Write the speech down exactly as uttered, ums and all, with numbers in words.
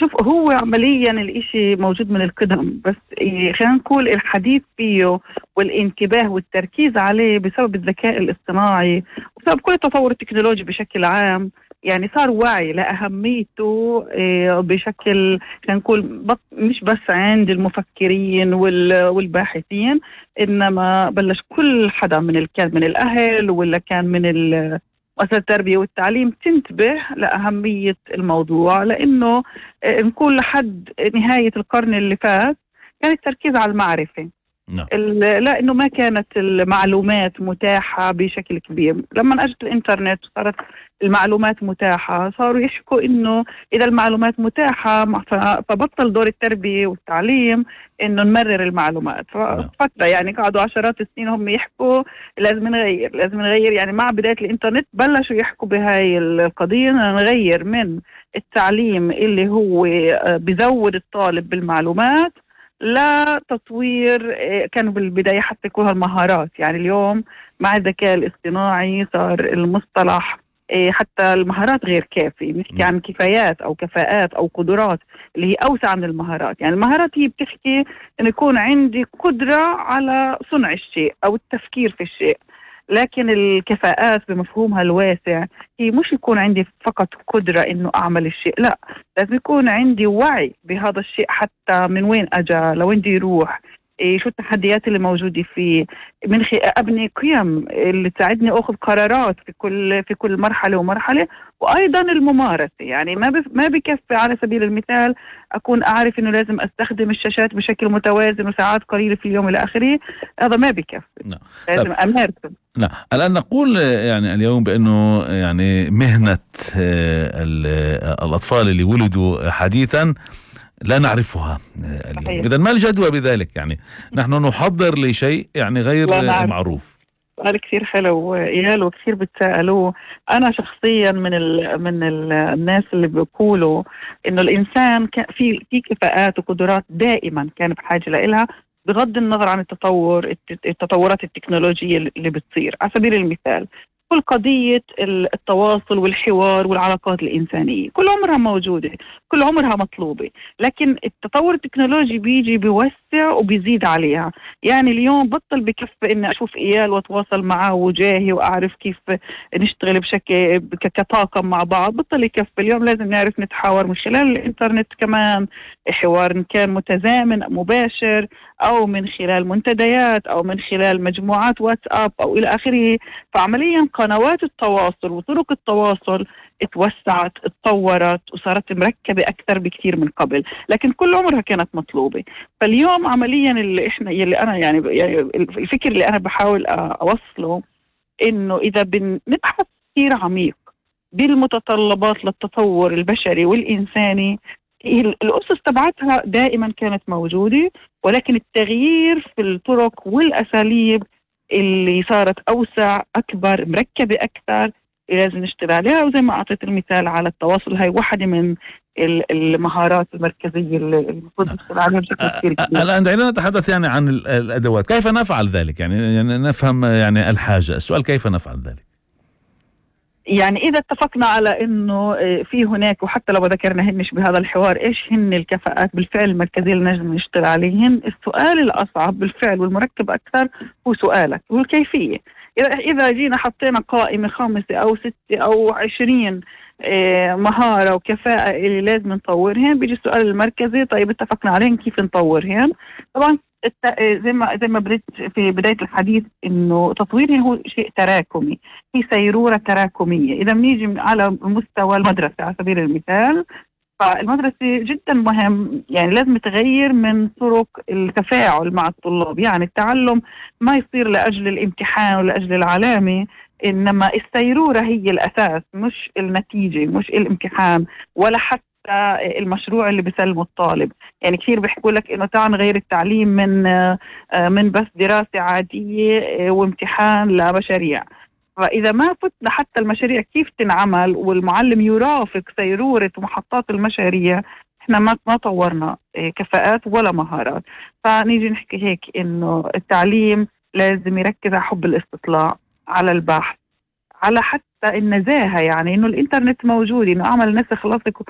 شوف، هو عمليا الاشي موجود من القدم، بس إيه، خلينا نقول الحديث فيه والانتباه والتركيز عليه بسبب الذكاء الاصطناعي وبسبب كل التطور التكنولوجي بشكل عام. يعني صار وعي لأهميته إيه، بشكل خلينا نقول بط- مش بس عند المفكرين وال- والباحثين، إنما بلش كل حدا من ال- كان من الأهل ولا كان من ال- مؤسسات التربية والتعليم تنتبه لأهمية الموضوع. لأنه آه، نقول لحد نهاية القرن اللي فات كان التركيز على المعرفة. نعم. ال- لأنه ما كانت المعلومات متاحة بشكل كبير. لما أجت الإنترنت وصارت المعلومات متاحة، صاروا يحكوا إنه إذا المعلومات متاحة مع- ف- فبطل دور التربية والتعليم إنه نمرر المعلومات. نعم. ففترة يعني قعدوا عشرات السنين هم يحكوا لازم نغير لازم نغير. يعني مع بداية الإنترنت بلشوا يحكوا بهاي القضية، إنه نغير من التعليم اللي هو آه، بزود الطالب بالمعلومات لا تطوير. آه، كانوا بالبداية حتى يكونوا المهارات. يعني اليوم مع الذكاء الاصطناعي صار المصطلح آه، حتى المهارات غير كافي. نحكي عن كفايات أو كفاءات أو قدرات اللي هي أوسع من المهارات. يعني المهارات هي بتحكي أن يكون عندي قدرة على صنع الشيء أو التفكير في الشيء، لكن الكفاءات بمفهومها الواسع هي مش يكون عندي فقط قدرة إنه أعمل الشيء، لا، لازم يكون عندي وعي بهذا الشيء، حتى من وين أجا لوين دي يروح، إيه شو التحديات اللي موجودة فيه، من خ... أبني قيم اللي تساعدني أخذ قرارات في كل في كل مرحلة ومرحلة. وأيضا الممارسة. يعني ما بف... ما بكفي على سبيل المثال أكون أعرف إنه لازم أستخدم الشاشات بشكل متوازن وساعات قليلة في اليوم إلى آخره. هذا ما بكفي. نعم. لازم أمارسه. نعم. الآن نقول يعني اليوم بأنه يعني مهنة آه، ال- آه، الأطفال اللي ولدوا حديثا لا نعرفها آه، اليوم. صحيح. إذن ما الجدوى بذلك؟ يعني نحن نحضر لشيء يعني غير لا آه، نعرف. معروف. سؤال كثير حلو إيال، وكثير بتسألوه. أنا شخصيا من ال من ال الناس اللي بيقولوا إنه الإنسان كان في في كفاءات وقدرات دائما كان بحاجة لإلها، بغض النظر عن التطور الت- التطورات التكنولوجية اللي بتصير. على سبيل المثال كل قضية ال- التواصل والحوار والعلاقات الإنسانية كل عمرها موجودة، كل عمرها مطلوبة، لكن التطور التكنولوجي بيجي بيوسع وبيزيد عليها. يعني اليوم بطل بكفي إني أشوف إيال وأتواصل معه وجاهي وأعرف كيف نشتغل بشكل ك- كطاقم مع بعض. بطل يكفي. اليوم لازم نعرف نتحاور من خلال الإنترنت كمان، حوار إن كان متزامن مباشر أو من خلال منتديات أو من خلال مجموعات واتساب أو إلى آخره. فعمليا قنوات التواصل وطرق التواصل اتوسعت اتطورت وصارت مركبة أكثر بكثير من قبل، لكن كل عمرها كانت مطلوبة. فاليوم عمليا اللي إحنا يلي أنا يعني, يعني الفكر اللي أنا بحاول أوصله إنه إذا بنبحث كثير عميق بالمتطلبات للتطور البشري والإنساني، هي الأسس تبعتها دائما كانت موجودة، ولكن التغيير في الطرق والأساليب اللي صارت أوسع أكبر مركبة أكثر لازم نشتغل عليها. وزي ما أعطيت المثال على التواصل، هاي واحدة من ال- المهارات المركزية اللي المفروض نشتغل عليها بشكل كثير كبير. الآن دعينا نتحدث يعني عن ال- الأدوات. كيف نفعل ذلك؟ يعني يعني نفهم يعني الحاجة. السؤال كيف نفعل ذلك؟ يعني إذا اتفقنا على إنه آه، في هناك، وحتى لو ذكرنا هنش بهذا الحوار إيش هن الكفاءات بالفعل المركزية اللي نجم نشتغل عليهن، السؤال الأصعب بالفعل والمركب أكثر هو سؤالك، هو الكيفية. إذا إذا جينا حطينا قائمة خمسة أو ستة أو عشرين آه، مهارة وكفاءة اللي لازم نطورهن، بيجي السؤال المركزي طيب اتفقنا عليهن كيف نطورهن. طبعا الت- زي ما زي ما بديت في بداية الحديث إنه تطويرها هو شيء تراكمي، في سيرورة تراكمية. إذا بنيجي على مستوى المدرسة على سبيل المثال، فالمدرسة جدا مهم، يعني لازم تغير من طرق التفاعل مع الطلاب. يعني التعلم ما يصير لأجل الامتحان ولأجل العلامة، إنما السيرورة هي الأساس، مش النتيجة، مش الامتحان ولا حتى المشروع اللي بيسلمه الطالب. يعني كثير بيحكوا لك إنه تعال نغير التعليم من من بس دراسة عادية وامتحان لمشاريع. فإذا ما فتنا حتى المشاريع كيف تنعمل والمعلم يرافق سيرورة محطات المشاريع، احنا ما ما طورنا كفاءات ولا مهارات. فنيجي نحكي هيك إنه التعليم لازم يركز على حب الاستطلاع، على البحث، على حتى النزاهة. يعني إنه الإنترنت موجود، إنه أعمل نسخ لصق